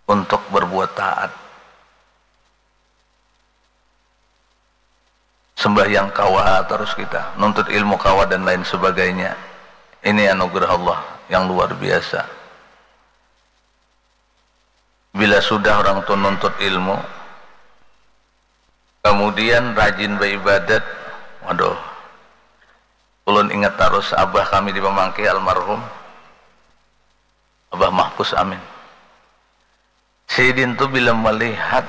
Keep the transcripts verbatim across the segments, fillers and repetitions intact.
untuk berbuat taat. Sembahyang kawa terus kita, nuntut ilmu kawa dan lain sebagainya. Ini anugerah Allah yang luar biasa. Bila sudah orang tu nuntut ilmu, kemudian rajin beribadat, waduh, ulun ingat terus abah kami di Pamangkih almarhum, Abah Mahfuz Amin. Sidin tu bila melihat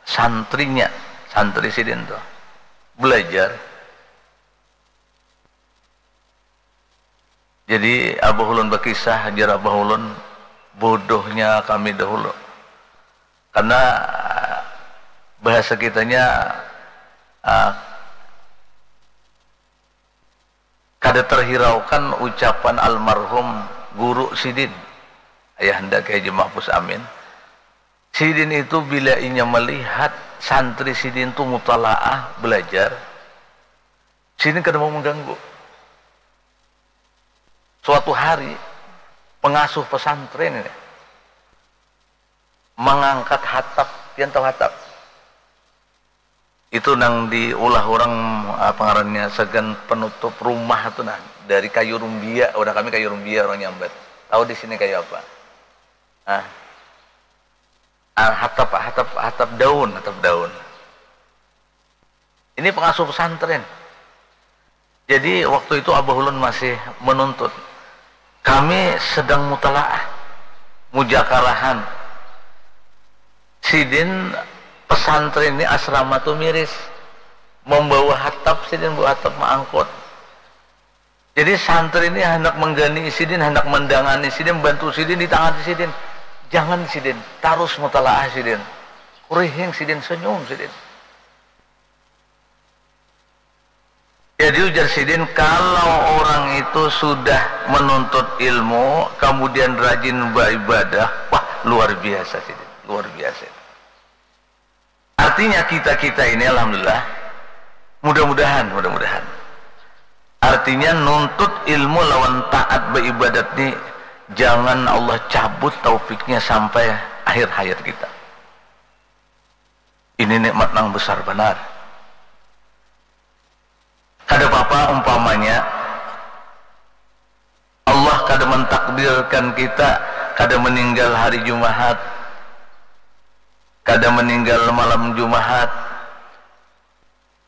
santrinya, santri sidin tu belajar, jadi abah ulun bakisah, jar abah ulun, bodohnya kami dahulu. Karena bahasa kitanya, ah, kada terhiraukan ucapan almarhum guru sidin, Ayahanda Kiai Haji Mahfuz Amin. Sidin itu bila inya melihat santri sidin tu mutalaah, belajar, sidin kada mau mengganggu. Suatu hari, pengasuh pesantren ini mengangkat hatap, pian tahu hatap? Itu nang diulah orang, apa ngarannya, sagan penutup rumah tu nah, dari kayu rumbia, orang kami kayu rumbia orang nyambat. Tahu di sini kayu apa? Ah. Ah, hatap, hatap, hatap daun, hatap daun. Ini pengasuh pesantren. Jadi waktu itu abah ulun masih menuntut. Kami sedang mutalaah, mujakarahan. Sidin pesantren ini asrama tu miris. Membawa hatap, sidin bawa hatap maangkut. Jadi santri ini hendak menggani sidin, hendak mendangani sidin, bantu sidin, ditangani sidin. Jangan sidin, tarus mutalaah sidin. Kurihing sidin, senyum sidin. Jadi ujar sidin, kalau orang itu sudah menuntut ilmu, kemudian rajin beribadah, wah, luar biasa sidin, luar biasa. Artinya kita-kita ini, alhamdulillah, mudah-mudahan, mudah-mudahan. Artinya nuntut ilmu lawan taat beribadat ni, jangan Allah cabut taufiknya sampai akhir hayat kita. Ini nikmat nang besar banar. Kada papa umpamanya Allah kada mentakdirkan kita kada meninggal hari Jumahat, kada meninggal malam Jumahat.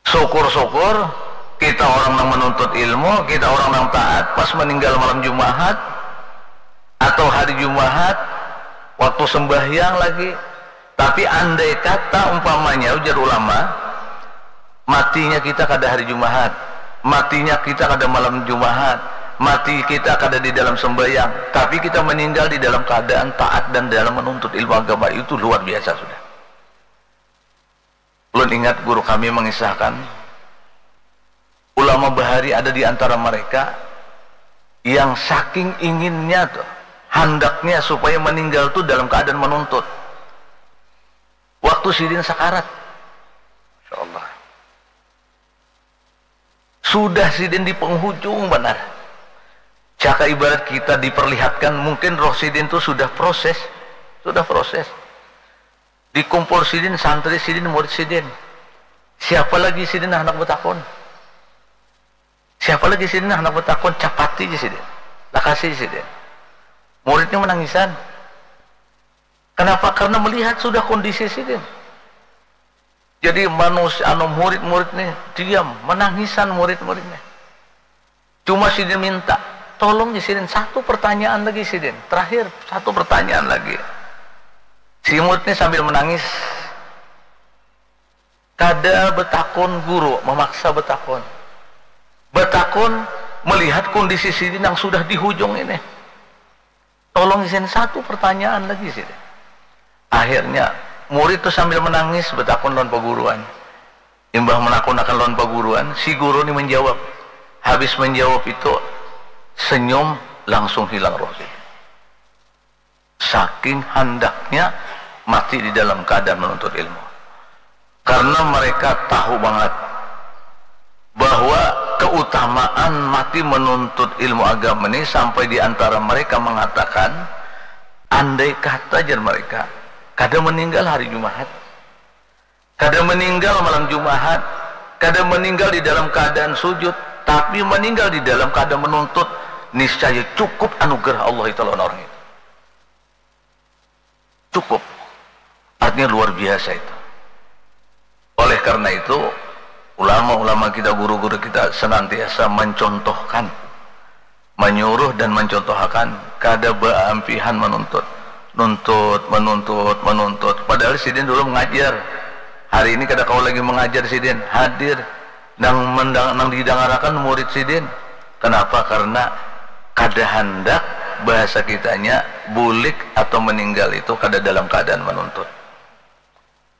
Syukur-syukur kita orang nang menuntut ilmu, kita orang nang taat, pas meninggal malam Jumahat atau hari Jumahat, waktu sembahyang lagi. Tapi andai kata umpamanya, ujar ulama, matinya kita kada hari Jumahat, matinya kita kada malam Jumahat, mati kita kada di dalam sembahyang, tapi kita meninggal di dalam keadaan taat dan dalam menuntut ilmu agama, itu luar biasa sudah. Ulun ingat guru kami mengisahkan, ulama bahari ada di antara mereka yang saking inginnya tuh, handaknya supaya meninggal tuh dalam keadaan menuntut. Waktu sidin sakarat. Masya Allah. Sudah sidin di penghujung banar. Caka ibarat kita diperlihatkan, mungkin roh sidin tuh sudah proses. Sudah proses. Dikumpul sidin, santri sidin, murid sidin. Siapa lagi sidin handak betakun? Siapa lagi sidin handak betakun? Capati ja sidin. Lakasi ja sidin. Muridnya menangisan. Kenapa? Karena melihat sudah kondisi sidin. Jadi manusia, anu, murid-murid nih diam, menangisan murid-murid nih. Cuma sidin minta, tolong di sidin satu pertanyaan lagi sidin. Terakhir, satu pertanyaan lagi. Si murid nih sambil menangis. Kada betakun guru, memaksa betakun. Betakun melihat kondisi sidin yang sudah di hujung ini. Tolong izin satu pertanyaan lagi sih. Akhirnya murid tuh sambil menangis betakun lawan paguruan. Imbah menakun akan lawan paguruan, si guru ni menjawab. Habis menjawab itu, senyum langsung hilang roh sih. Saking handaknya mati di dalam keadaan menuntut ilmu. Karena mereka tahu banget bahwa keutamaan mati menuntut ilmu agama ini sampai di antara mereka mengatakan, Andai kata, jar mereka, kada meninggal hari Jumahat, kada meninggal malam Jumahat, kada meninggal di dalam keadaan sujud, tapi meninggal di dalam keadaan menuntut, niscaya cukup anugerah Allah itu lawan orang itu. Cukup. Artinya luar biasa itu. Oleh karena itu, ulama-ulama kita, guru-guru kita senantiasa mencontohkan, menyuruh dan mencontohakan, kada baampihan menuntut. Nuntut, menuntut, menuntut. Padahal sidin dulu mengajar. Hari ini kada kawa lagi mengajar sidin. Hadir. Nang mendang-, nang didangarakan murid sidin. Kenapa? Karena kada handak, bahasa kitanya, bulik atau meninggal itu kada dalam keadaan menuntut.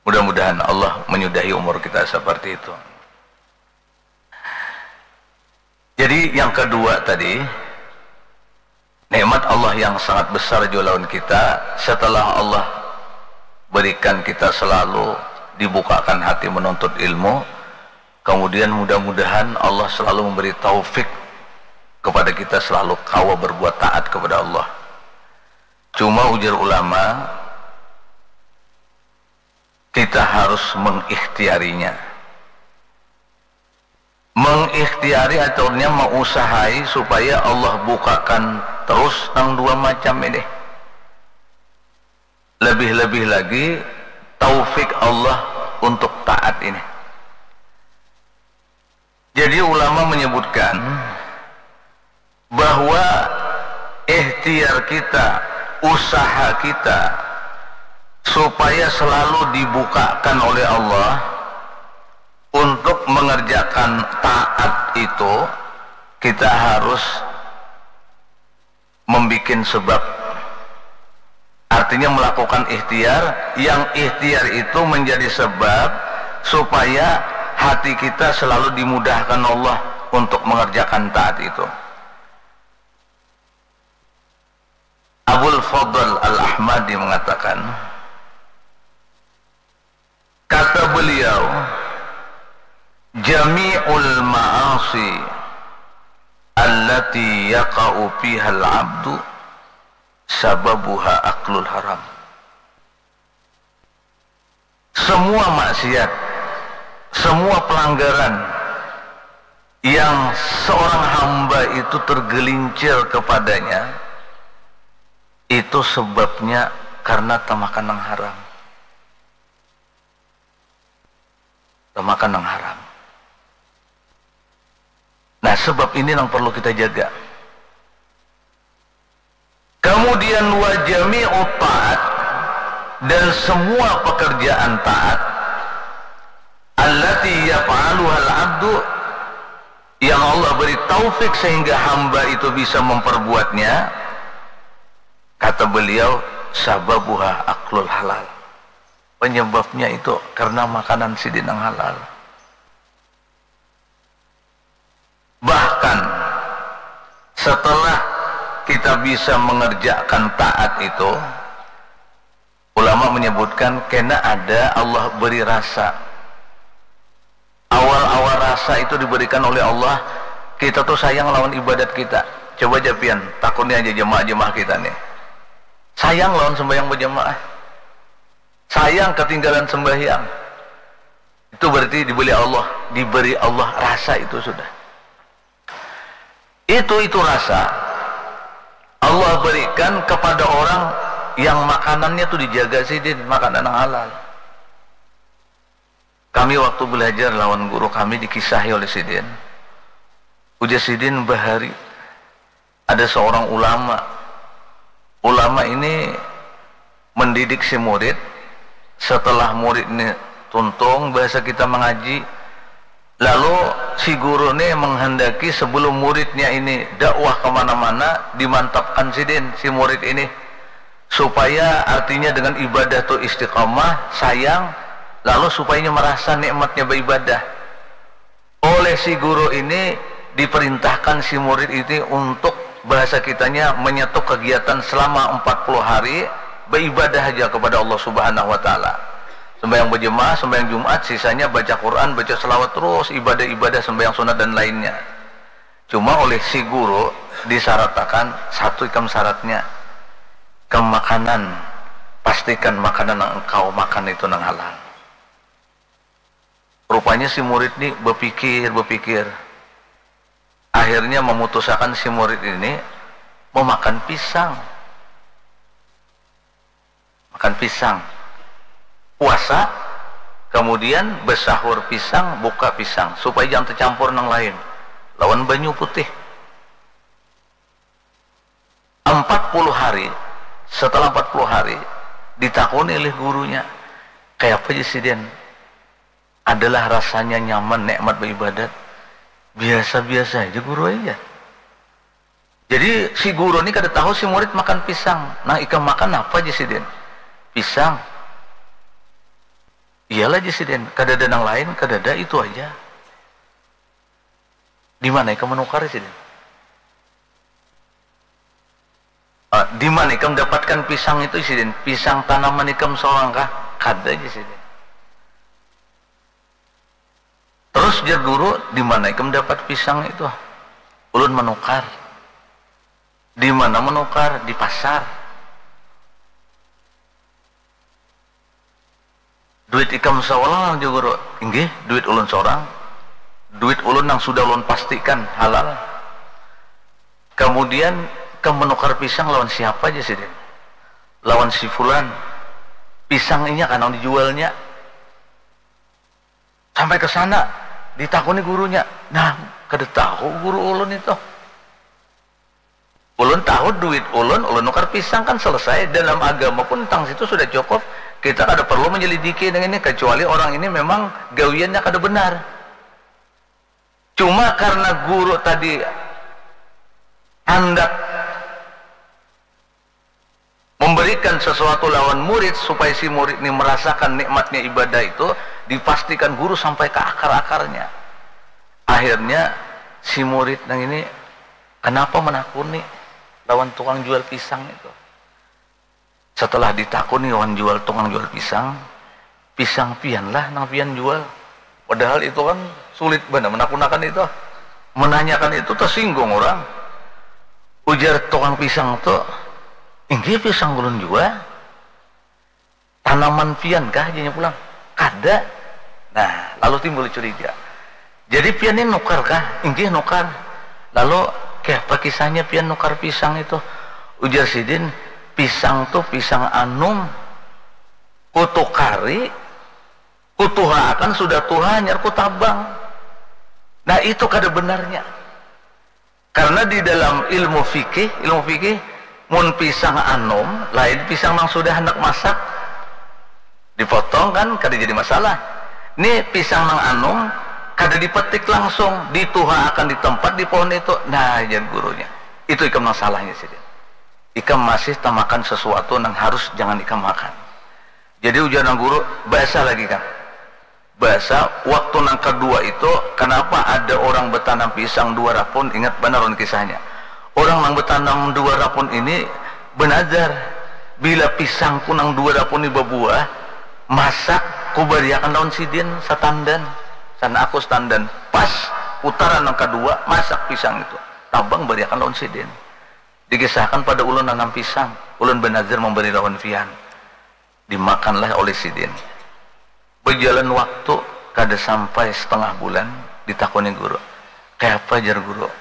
Mudah-mudahan Allah menyudahi umur kita seperti itu. Jadi yang kedua tadi, nikmat Allah yang sangat besar jua lawan kita, setelah Allah berikan kita selalu dibukakan hati menuntut ilmu, kemudian mudah-mudahan Allah selalu memberi taufik kepada kita selalu kawa berbuat taat kepada Allah. Cuma ujar ulama, kita harus mengikhtiarinya. Mengikhtiari aturnya, meusahai supaya Allah bukakan terus nang dua macam ini. Lebih-lebih lagi taufik Allah untuk taat ini. Jadi ulama menyebutkan bahwa ikhtiar kita, usaha kita supaya selalu dibukakan oleh Allah untuk mengerjakan taat itu, kita harus membikin sebab. Artinya melakukan ikhtiar, yang ikhtiar itu menjadi sebab supaya hati kita selalu dimudahkan Allah untuk mengerjakan taat itu. Abul Fadl Al-Ahmadi mengatakan, kata beliau, "Jami'ul ma'asi allati yaqa'u fihal abdu sababuha aklul haram." Semua maksiat, semua pelanggaran yang seorang hamba itu tergelincir kepadanya, itu sebabnya karena tamakan nang haram. Tamakan nang haram. Nah, sebab ini yang perlu kita jaga. Kemudian, wa jami'u taat, dan semua pekerjaan taat, allati yaf'aluhal abdu, yang Allah beri taufik sehingga hamba itu bisa memperbuatnya, kata beliau, sababuha aklul halal. Penyebabnya itu karena makanan sidin yang halal. Bahkan setelah kita bisa mengerjakan taat itu, ulama menyebutkan kena ada Allah beri rasa. Awal-awal rasa itu diberikan oleh Allah, kita tuh sayang lawan ibadat kita. Coba ja pian, takuni aja jemaah-jemaah kita nih. Sayang lawan sembahyang berjemaah. Sayang ketinggalan sembahyang. Itu berarti diberi Allah, diberi Allah rasa itu sudah. Itu, itu rasa Allah berikan kepada orang yang makanannya tuh dijaga sidin, makanan yang halal. Kami waktu belajar lawan guru kami dikisahi oleh sidin. Ujar sidin bahari ada seorang ulama. Ulama ini mendidik si murid. Setelah murid ini tuntung bahasa kita mengaji, lalu si guru ini menghendaki sebelum muridnya ini dakwah kemana-mana, dimantapkan sidin si murid ini supaya artinya dengan ibadah tu istiqamah, sayang, lalu supaya merasa nikmatnya beribadah. Oleh si guru ini diperintahkan si murid ini untuk, bahasa kitanya, menyetuk kegiatan selama empat puluh hari beribadah aja kepada Allah Subhanahu wa Ta'ala. Sembahyang berjemaah, sembahyang Jumat, sisanya baca Quran, baca selawat terus, ibadah-ibadah, sembahyang sunat dan lainnya. Cuma oleh si guru disyaratkan satu ikam syaratnya. Kam makanan, pastikan makanan nang engkau makan itu nang halal. Rupanya si murid ni bapikir-bapikir, akhirnya mamutusakan si murid ini mamakan pisang. Makan pisang. Puasa, kamudian basahur pisang, buka pisang, supaya jangan tacampur nang lain lawan banyu putih. Ampat puluh hari, setelah ampat puluh hari, ditakuni oleh gurunya, kayapa ja sidin? Adalah rasanya nyaman, nikmat baibadat? Biasa-biasa aja guru aja. Jadi si guru ni kada tahu si murid makan pisang. Nang ikam makan apa ja sidin? Pisang. Iyalah ja sidin, kada ada nang lain, kada ada, itu aja. Di mana ikam menukar sidin? Ah, di mana ikam dapatkan pisang itu sidin? Pisang tanaman ikam seorang kah? Kada ja sidin. Terus jar guru, di mana ikam dapat pisang itu? Ulun menukar. Di mana menukar? Di pasar. Duit ikam seorang jar guru? Inggih, duit ulun seorang. Duit ulun nang sudah ulun pastikan halal. Kemudian ikam menukar pisang lawan siapa aja sidin? Lawan si fulan. Pisang inya kanang dijualnya. Sampai ke sana, ditakuni gurunya. Nah, kada tahu guru ulun itu. Ulun tahu duit ulun, ulun nukar pisang kan selesai. Dalam agama pun tang situ sudah cukup. Kita kada perlu menyelidiki dengan ini, kecuali orang ini memang gawiannya kada benar. Cuma karena guru tadi handak memberikan sesuatu lawan murid supaya si murid ini merasakan nikmatnya ibadah itu, dipastikan guru sampai ke akar-akarnya. Akhirnya si murid nang ini kenapa menakuni lawan tukang jual pisang itu? Setelah ditakuni lawan jual, tukang jual pisang, pisang pian lah nang pian jual. Padahal itu kan sulit banar menakunakan itu. Menanyakan itu tersinggung orang. Ujar tukang pisang tu, inggih pisang ulun jua. Tanaman pian kah janya pulang. Kada. Nah, lalu timbul curiga. Jadi pian ni nukar kah? Inggih nukar. Lalu kayapa kisahnya pian nukar pisang itu? Ujar sidin, pisang tu pisang anum. Kutukari, kutuhaakan sudah tuha hanyar kutabang. Nah, itu kada benarnya. Karena di dalam ilmu fikih, ilmu fikih mun pisang anum lain pisang nang sudah handak masak. Dipotong kan kada jadi masalah. Ni pisang nang anum kada dipetik langsung, dituhaakan di tempat di pohon itu. Nah, jar gurunya, itu ikam nang salahnya sidin. Ikam masih tamakan sesuatu nang harus jangan ikam makan. Jadi ujar nang guru, basah lagi kan. Basah, waktu nang kedua itu, kenapa ada orang betanam pisang dua rapun, ingat banar ulun kisahnya. Orang nang betanam dua rapun ini benazar, bila pisangku nang dua rapun ini babuah, masak kubariakan lawan sidin satandan, sana aku satandan. Pas putaran nang kedua, masak pisang itu, tabang bariakan lawan sidin. Dikisahkan pada ulun nanam pisang, ulun benazar memberi lawan pian. Dimakanlah oleh sidin. Berjalan waktu, kada sampai setengah bulan, ditakuni guru, kayapa jar guru?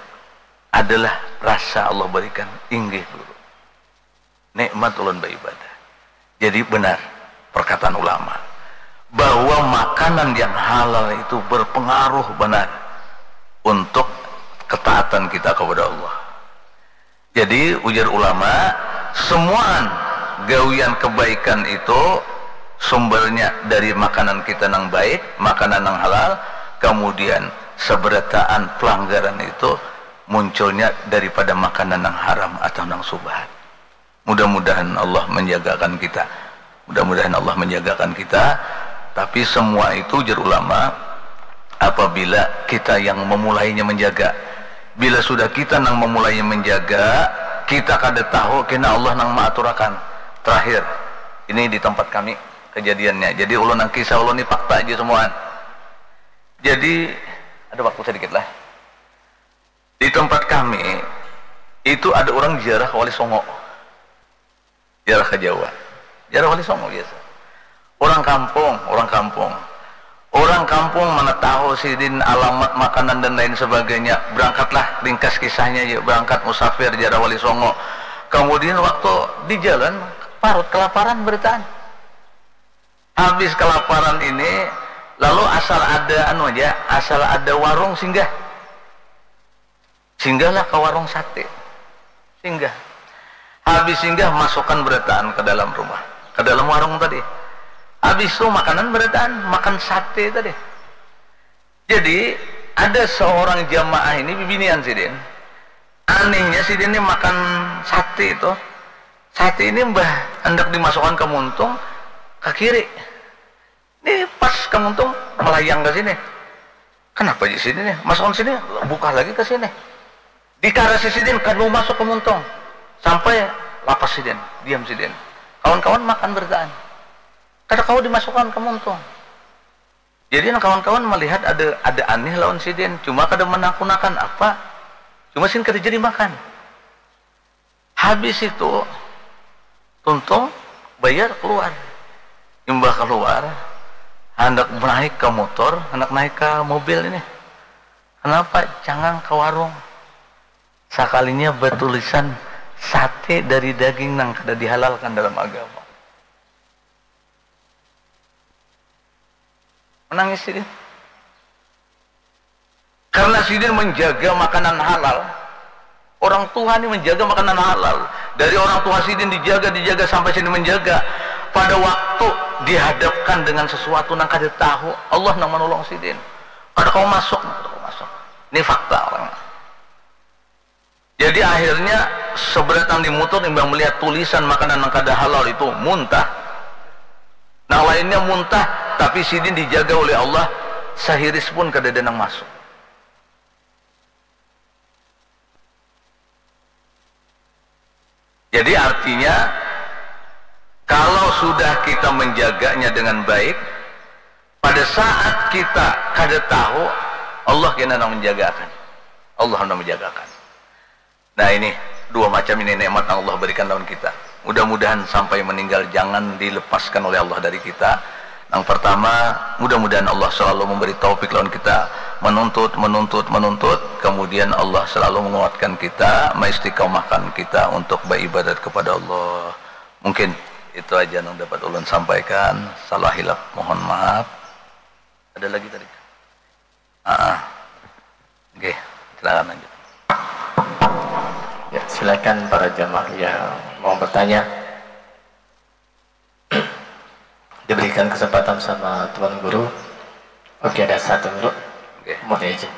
Adalah rasa Allah berikan. Inggih guru, nikmat ulun beribadah. Jadi benar perkataan ulama bahwa makanan yang halal itu berpengaruh benar untuk ketaatan kita kepada Allah. Jadi ujar ulama, semuaan gawian kebaikan itu sumbernya dari makanan kita nang baik, makanan nang halal, kemudian seberataan pelanggaran itu munculnya daripada makanan nang haram atau nang subhat. Mudah-mudahan Allah menjagakan kita. Mudah-mudahan Allah menjagakan kita. Tapi semua itu, ujar ulama, apabila kita yang memulainya menjaga. Bila sudah kita nang memulainya menjaga, kita kada tahu kena Allah nang maaturakan. Terakhir, ini di tempat kami kejadiannya. Jadi ulun nang kisah ulun ni fakta aja semuaan. Jadi ada waktu sedikit lah. Di tempat kami itu ada orang ziarah ke Wali Songo. Ziarah ke Jawa. Ziarah Wali Songo biasa. Orang kampung, orang kampung. Orang kampung mana tahu sidin alamat makanan dan lain sebagainya. Berangkatlah, ringkas kisahnya, yuk, berangkat musafir ziarah Wali Songo. Kemudian waktu di jalan, parut kelaparan berataan. Habis kelaparan ini, lalu asal ada anu aja, asal ada warung singgah. Singgahlah ke warung sate. Singgah. Habis singgah, masukkan berataan ke dalam rumah, ke dalam warung tadi. Habis itu makanan berataan, makan sate tadi. Jadi, ada seorang jamaah ini, bibinian sidin. Anehnya, sidin ini makan sate itu. Sate ini, mbah, hendak dimasukkan ke muntung, ke kiri. Ini pas ke muntung, melayang ke sini. Kenapa di sini nih? Masukkan sini, buka lagi ke sini. Dikarasi sidin, kada mau masuk ke muntung. Sampai lapas sidin, diam sidin. Kawan-kawan makan berataan. Kada kawa dimasukkan ke muntung. Jadi, nang kawan-kawan melihat ada, ada aneh lawan sidin, cuma kada menakunakan apa. Cuma sidin kada jadi makan. Habis itu, tuntung, bayar, keluar. Imbah keluar, handak naik ka motor, handak naik ka mobil ini. Kenapa? Cangang ka warung. Sakalinya batulisan sate dari daging nang kada dihalalkan dalam agama. Menangis sidin. Karena sidin menjaga makanan halal. Orang tua ni menjaga makanan halal. Dari orang tua sidin dijaga, dijaga sampai sidin menjaga. Pada waktu dihadapkan dengan sesuatu nang kada tahu, Allah nang menolong sidin. Kada kawa masuk, kada kawa masuk. Ini fakta orang. Jadi akhirnya seberatang di mutur imbah melihat tulisan makanan nang kada halal itu muntah. Nang lainnya muntah, tapi sidin dijaga oleh Allah, sahiris pun kadada nang masuk. Jadi artinya, kalau sudah kita menjaganya dengan baik, pada saat kita kada tahu, Allah kena nang menjagakan. Allah nang menjagakan. Nah, ini dua macam ini nikmat yang Allah berikan lawan kita. Mudah-mudahan sampai meninggal jangan dilepaskan oleh Allah dari kita. Yang pertama, mudah-mudahan Allah selalu memberi taufik lawan kita menuntut, menuntut, menuntut. Kemudian Allah selalu menguatkan kita, maistiqomahkan kita untuk beribadat kepada Allah. Mungkin itu aja yang dapat ulun sampaikan. Salah hilap mohon maaf. Ada lagi tadi? Ah, oke, silakan lanjut. Ya, silakan para jamaah yang mau bertanya. Diberikan kesempatan sama Tuan Guru. Oke, ada satu guru. Oke. Mau diajak.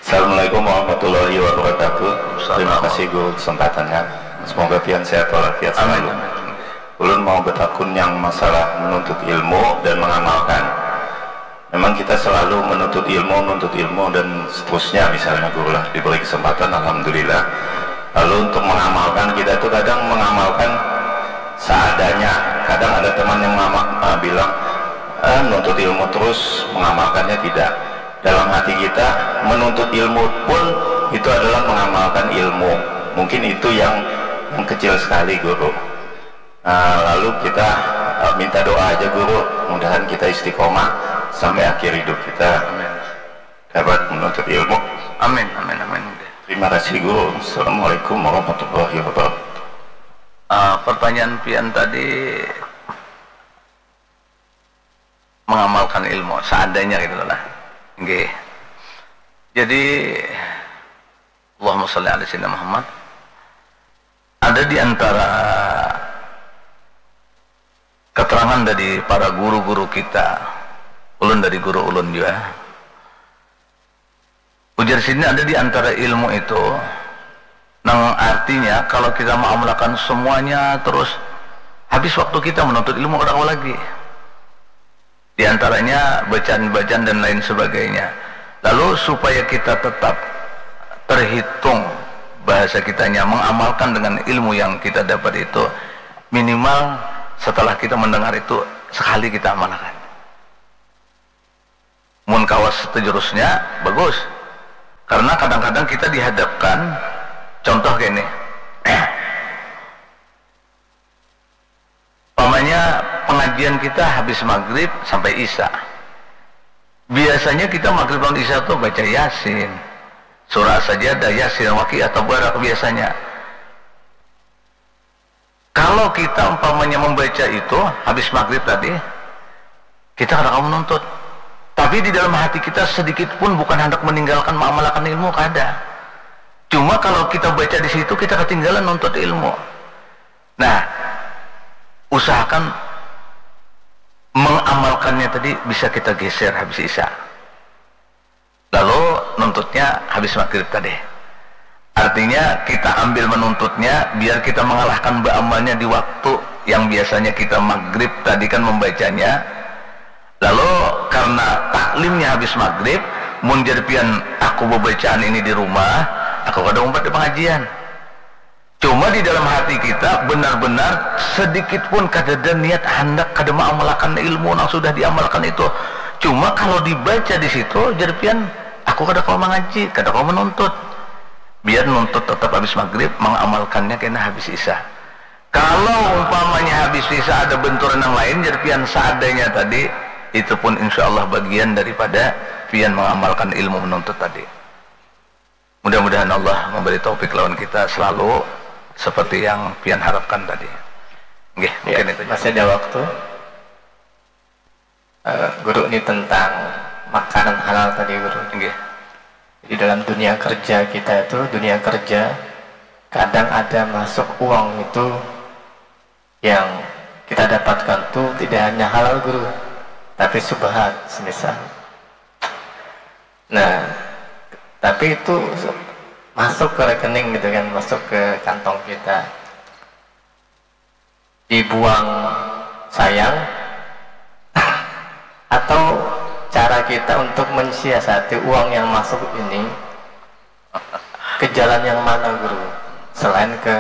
Assalamualaikum warahmatullahi wabarakatuh. Terima kasih guru kesempatannya. Semoga pian sehat walafiat selalu. Ulun mau betakun yang masalah menuntut ilmu dan mengamalkan. Memang kita selalu menuntut ilmu, menuntut ilmu dan seterusnya misalnya guru lah diberi kesempatan alhamdulillah. Lalu untuk mengamalkan kita itu kadang mengamalkan seadanya. Kadang ada teman yang ngamal, uh, bilang eh, menuntut ilmu terus mengamalkannya tidak. Dalam hati kita menuntut ilmu pun itu adalah mengamalkan ilmu. Mungkin itu yang yang kecil sekali guru. Nah, lalu kita uh, minta doa aja guru, mudahan kita istiqomah sampai akhir hidup kita dapat menuntut ilmu. Amin, amin, amin. Terima kasih guru. Assalamualaikum warahmatullahi wabarakatuh. Uh, pertanyaan pian tadi mengamalkan ilmu seadanya gitu lah. Nggih. Jadi Allahumma shalli ala sayyidina Muhammad. Ada di antara keterangan dari para guru-guru kita, ulun dari guru ulun juga. Ujar sini ada di antara ilmu itu nang artinya kalau kita mengamalkan semuanya terus habis waktu kita menuntut ilmu kada kawa lagi. Di antaranya bacaan-bacaan dan lain sebagainya. Lalu supaya kita tetap terhitung bahasa kitanya mengamalkan dengan ilmu yang kita dapat itu minimal setelah kita mendengar itu sekali kita amalkan. Mun kawa seterusnya, bagus. Karena kadang-kadang kita dihadapkan, contoh gini, umpamanya pengajian kita habis maghrib sampai isya. Biasanya kita maghrib lawan isya tuh baca Yasin, surah Sajadah, Yasin, Waqiah, Tabarak biasanya. Kalau kita umpamanya membaca itu habis maghrib tadi, kita kada kawa menuntut. Tapi di dalam hati kita sedikit pun bukan hendak meninggalkan mengamalkan ilmu, kada. Cuma kalau kita baca di situ, kita ketinggalan nuntut ilmu. Nah, usahakan mengamalkannya tadi bisa kita geser habis isya. Lalu nuntutnya habis maghrib tadi. Artinya kita ambil menuntutnya biar kita mengalahkan baamalnya di waktu yang biasanya kita maghrib tadi kan membacanya. Lalu karena taklimnya habis maghrib, mun jar pian aku bebacaan ini di rumah, aku kada umpat di pengajian. Cuma di dalam hati kita benar-benar sedikit pun kadada niat handak kada mengamalkan ilmu nang sudah diamalkan itu. Cuma kalau dibaca di situ, jar pian, aku kada kawa mengaji, kada kawa menuntut. Biar nuntut tetap habis maghrib, mengamalkannya kena habis isya. Kalau umpamanya habis isya ada benturan yang lain, jar pian, seadanya tadi, itu pun insya Allah bagian daripada pian mengamalkan ilmu menuntut tadi. Mudah-mudahan Allah memberi taufik lawan kita selalu seperti yang pian harapkan tadi. Nggih, mungkin itu. Masih ada waktu. Eh, guru, ini tentang makanan halal tadi, guru. Nggih. Di dalam dunia kerja kita itu, dunia kerja, kadang ada masuk uang itu yang kita dapatkan tuh tidak hanya halal, guru, tapi subhat semisal. Nah, tapi itu masuk ke rekening gitu kan, masuk ke kantong kita, dibuang sayang. Atau cara kita untuk mensiasati uang yang masuk ini ke jalan yang mana, guru, selain ke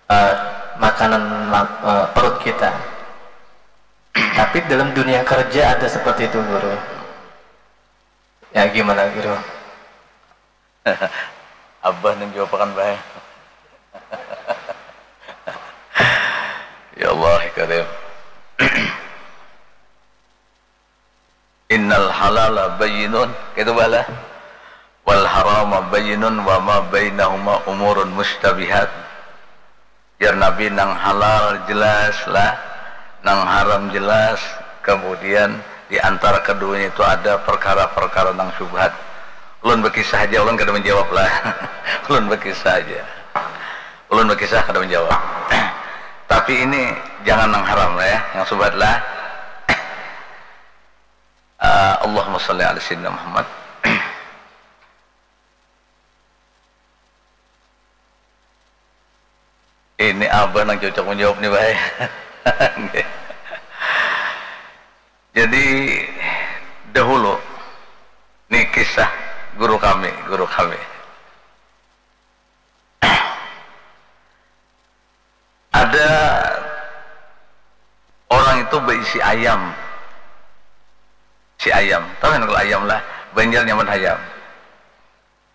eh, makanan la- eh, perut kita. Tapi dalam dunia kerja ada seperti itu, guru. Ya, gimana, guru? Abah nang jawab akan bae. Ya Allah, ya Karim. Innal halala bayyinun, kaitu bala. Wal harama bayyinun wa ma bainahuma umurun mustabihat. Jar Nabi, nang halal jelas lah, nang haram jelas, kemudian di antara keduanya itu ada perkara-perkara nang syubhat. Ulun bekisah aja, ulun kada menjawab lah. Ulun bekisah aja. Ulun bekisah kada menjawab. Tapi ini jangan nang haram lah ya, yang syubhat lah. Uh, Allahumma salli ala sayyidina Muhammad. Ini abah nang cocok menjawab nih, baik. Jadi dahulu nih kisah guru kami, guru kami. Ada orang itu berisi ayam, si ayam, tahu kan kalau ayam lah, Banjar nyaman ayam.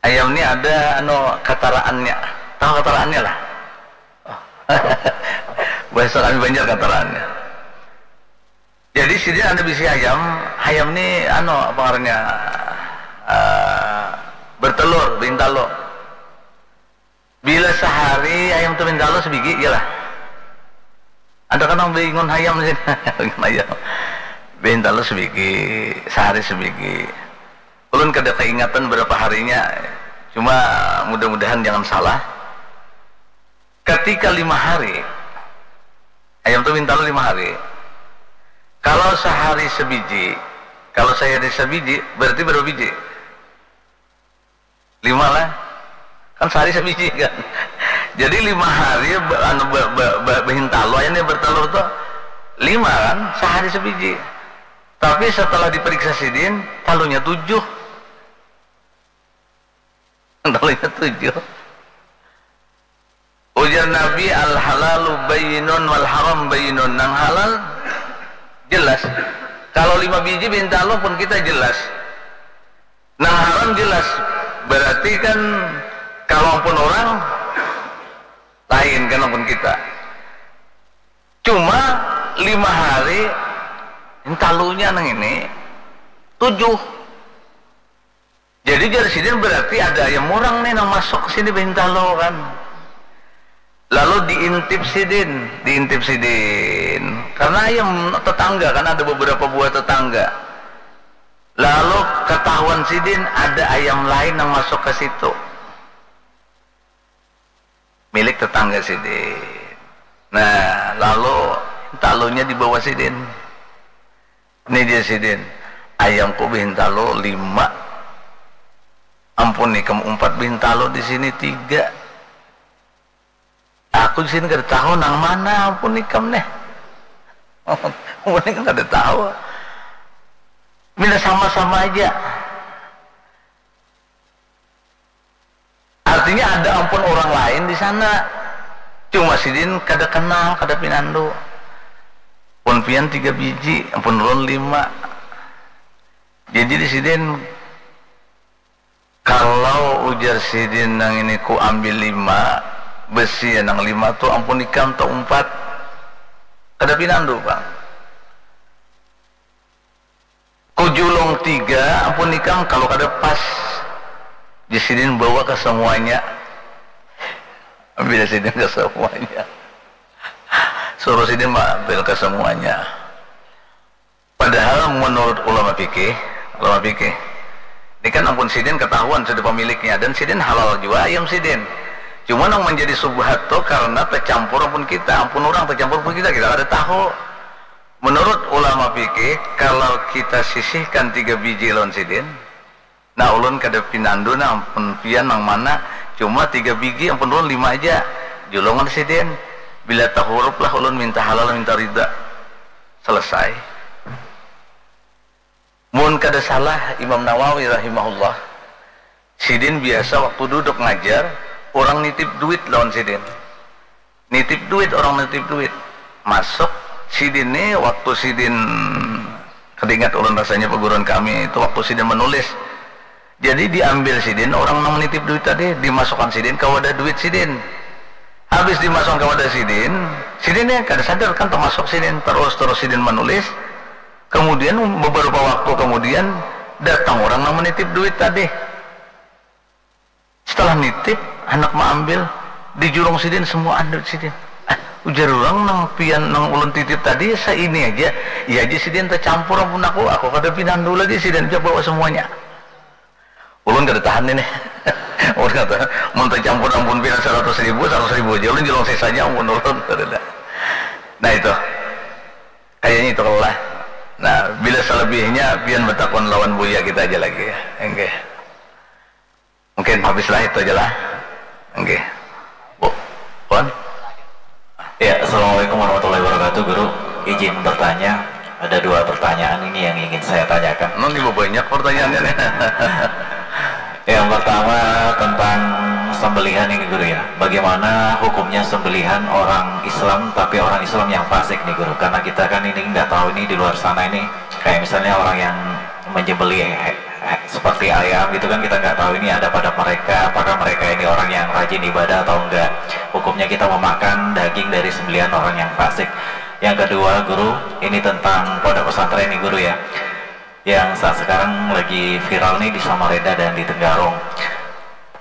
Ayam ni ada anu kataraannya, tahu kataraannya lah. Bahasa kami Banjar kataraannya. Jadi sidin ada bisi hayam, hayam ni anu apa ngarannya uh, bertelur, bintalo. Bila sehari hayam tu bintalo sebigi je lah. Ada kan nang bingun hayam sih, bingun hayam. Bintalo sebigi, sehari sebigi. Ulun kada keingatan berapa harinya, cuma mudah-mudahan jangan salah. Ketika lima hari, hayam tu bintalo lima hari. Kalau sehari sebiji, kalau sehari sebiji, berarti berapa biji? Lima lah. Kan sehari sebiji kan. Jadi lima hari be, anu, be, be, be, behintalo, hayam ni bertelur tu lima kan, sehari sebiji. Tapi setelah diperiksa sidin, talunya tujuh. Talunya tujuh. Ujar Nabi, al halalu bayyinun wal haram bayyinun. Nang halal jelas. Kalau lima biji bintalo pun kita jelas. Nang haram jelas. Berarti kan kalau pun orang lain kan pun kita. Cuma lima hari bintalonya nang ini tujuh. Jadi jar sidin berarti ada ayam orang nih nang masuk ke sini bintalo kan. Lalu diintip sidin, diintip sidin. Karena ayam tetangga kan ada beberapa buah tetangga. Lalu ketahuan sidin ada ayam lain yang masuk ke situ. Milik tetangga sidin. Nah, lalu talunya dibawa sidin. Ini dia sidin, ayamku bintalo lima. Ampun ikam umpat bintalo di sini tiga. Aku di sini kada tahu nang mana ampun ikam nih. Ampun ikam kada tahu. Bila sama-sama aja. Artinya ada ampun orang lain di sana. Cuma sidin kada kenal, kada pinandu. Pun pian tiga biji, ampun ulun lima. Jadi di sidin kalau ujar sidin nang ini ku ambil lima, besi nang lima tu ampun ikam taumpat. Kada pinandu pang. Kujulung tiga ampun ikam kalau kada pas. Di sidin bawa ke semuanya. Ambil sidin ke semuanya. Suruh sidin ambil ke semuanya. Padahal menurut ulama fikih, ulama fikih, ini kan ampun sidin ketahuan sudah pemiliknya dan sidin halal juga ayam sidin. Cuma yang menjadi subhat tuh karena tercampur ampun kita, ampun orang tercampur ampun kita, kita ada tahu. Menurut ulama fikih, kalau kita sisihkan tiga biji lawan sidin, nah ulun kada pinandu nah ampun pian nang mana, cuma tiga biji ampun ulun lima aja, julungan sidin, bila tahurup lah ulun minta halal minta rida. Selesai. Mun kada salah Imam Nawawi rahimahullah, sidin biasa waktu duduk ngajar, orang nitip duit lawan sidin. Nitip duit, orang nitip duit. Masuk sidin ni waktu sidin, kada ingat ulun rasanya perguruan kami itu waktu sidin menulis. Jadi diambil sidin orang nang menitip duit tadi, dimasukkan sidin ke wadah duit sidin. Habis dimasukkan ke wadah sidin, sidin ni kada sadar kan termasuk sidin, terus-terus sidin menulis. Kemudian beberapa waktu kemudian datang orang nang menitip duit tadi. Setelah nitip, anak maambil, dijurung sidin semua duit sidin. Ah, ujar orang nang pian nang ulun titip tadi saini aja, iya aja sidin tercampur ampun aku, aku kada pinandu lagi sidin aja bawa semuanya. Ulun kada tahan ini. Ulun kata, mun tercampur ampun pian seratus ribu, seratus ribu aja ulun julung sisanya ampun ulun. Nah itu. Kayaknya itu lah. Nah, bila selebihnya pian bertakun lawan buya kita aja lagi ya. Oke. Mungkin habislah itu aja lah. Oke. Bu, Pon? Ya, Assalamualaikum warahmatullahi wabarakatuh, Guru. Izin bertanya, ada dua pertanyaan ini yang ingin saya tanyakan. Nanti banyak pertanyaannya nih. Yang pertama tentang sembelihan ini, Guru, ya. Bagaimana hukumnya sembelihan orang Islam tapi orang Islam yang fasik nih, Guru? Karena kita kan ini nggak tahu ini di luar sana ini, kayak misalnya orang yang menyembelih seperti ayam gitu kan, kita nggak tahu ini ada pada mereka, apakah mereka ini orang yang rajin ibadah atau enggak. Hukumnya kita memakan daging dari sembelihan orang yang fasik. Yang kedua, Guru, ini tentang pondok pesantren nih, Guru, ya, yang saat sekarang lagi viral nih di Samarinda dan di Tenggarong.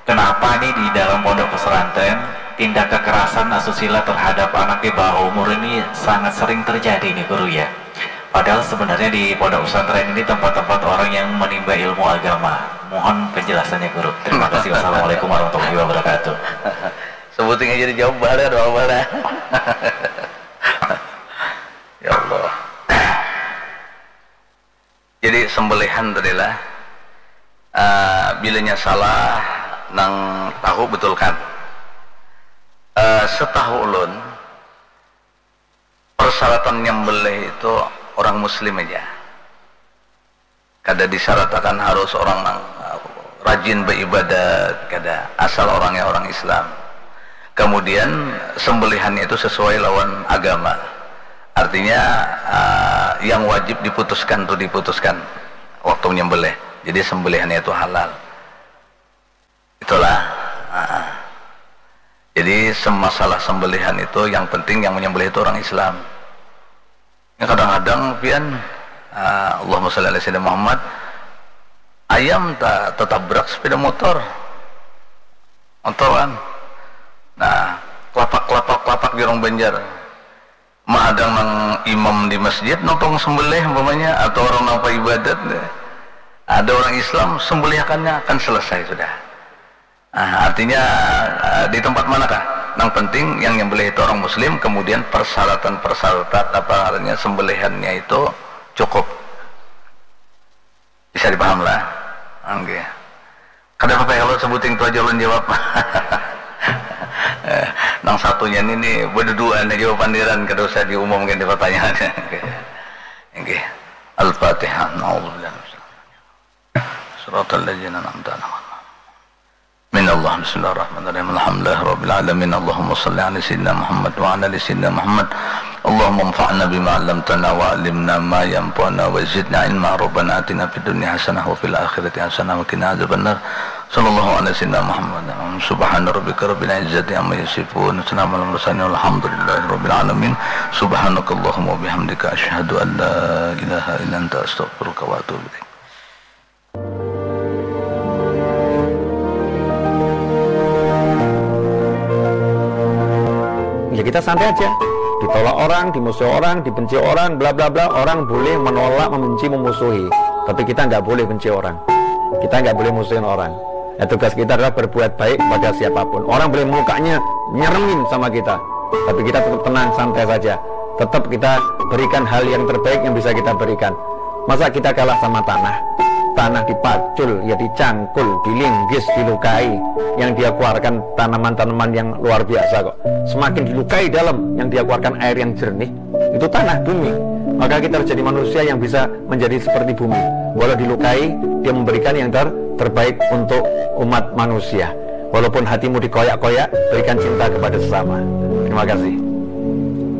Kenapa nih di dalam pondok pesantren tindak kekerasan asusila terhadap anak di bawah umur ini sangat sering terjadi nih, Guru, ya? Padahal sebenarnya di pondok pesantren ini tempat-tempat orang yang menimba ilmu agama. Mohon penjelasannya, Guru. Terima kasih. Wassalamualaikum warahmatullahi wabarakatuh. Sebuting aja dijawab, bala doa bala. Ya Allah. Jadi sembelihan tadi lah, uh, bilanya salah nang tahu betulkan. Uh, setahu ulun, persyaratan nyembelih itu orang muslim aja. Kada disyaratkan harus orang nang rajin beribadat, kada, asal orangnya orang Islam. Kemudian sembelihannya itu sesuai lawan agama. Artinya uh, yang wajib diputuskan tuh diputuskan waktu menyembelih. Jadi sembelihannya itu halal. Itulah. Nah. Jadi semasalah sembelihan itu yang penting yang menyembelih itu orang Islam. Ya, kadang-kadang pian, ah, Allahumma sholli ala sayyidina Muhammad, ayam tak tertabrak sepeda motor. Motor kan. Nah, kelapak-kelapak-kelapak di orang Banjar. Mahadang nang imam di masjid nonton sembelih umpamanya atau orang nang ibadat, ada orang Islam sembelihakannya akan selesai sudah. Nah, artinya, eh, di tempat manakah? Nang penting yang nyembelih itu orang muslim, kemudian persyaratan-persyaratan apa namanya sembelihannya itu cukup. Bisa dipaham lah. Oke. Kada apa-apa ya kalau sebuting tu aja ulun jawab. Eh, nang satunya ini nih berduaan aja pandiran kada usah diumumkan di pertanyaan. Oke. Al-Fatihah. Nauzubillah. Siratal ladzina an'amta 'alaihim. Minallah, bismillahirrahmanirrahim. Alhamdulillahirabbil alamin. Allahumma shalli ala sayyidina Muhammad wa ala ali sayyidina Muhammad. Allahumma anfa'na bima 'allamtana wa 'allimna ma yanfa'una wa zidna ilma. Rabbana atina fid dunya hasanah wa fil akhirati hasanah wa qina adzabannar. Sallallahu ala sayyidina Muhammad. Subhana rabbika rabbil izzati amma yasifun. Salamun alal mursalin walhamdulillahi rabbil alamin. Subhanakallahumma wa bihamdika asyhadu an la ilaha illa anta astaghfiruka wa atubu ilaik. Ya kita santai aja. Ditolak orang, dimusuhi orang, dibenci orang, bla bla bla. Orang boleh menolak, membenci, memusuhi. Tapi kita nggak boleh benci orang. Kita nggak boleh musuhin orang. Ya, tugas kita adalah berbuat baik kepada siapapun. Orang boleh mukanya nyeremin sama kita. Tapi kita tetap tenang, santai saja. Tetap kita berikan hal yang terbaik yang bisa kita berikan. Masa kita kalah sama tanah? Tanah dipacul, ya dicangkul, dilinggis, dilukai. Yang dia keluarkan tanaman-tanaman yang luar biasa kok. Semakin dilukai dalam, yang dia keluarkan air yang jernih, itu tanah bumi. Maka kita harus jadi manusia yang bisa menjadi seperti bumi. Walau dilukai, dia memberikan yang ter terbaik untuk umat manusia. Walaupun hatimu dikoyak-koyak, berikan cinta kepada sesama. Terima kasih.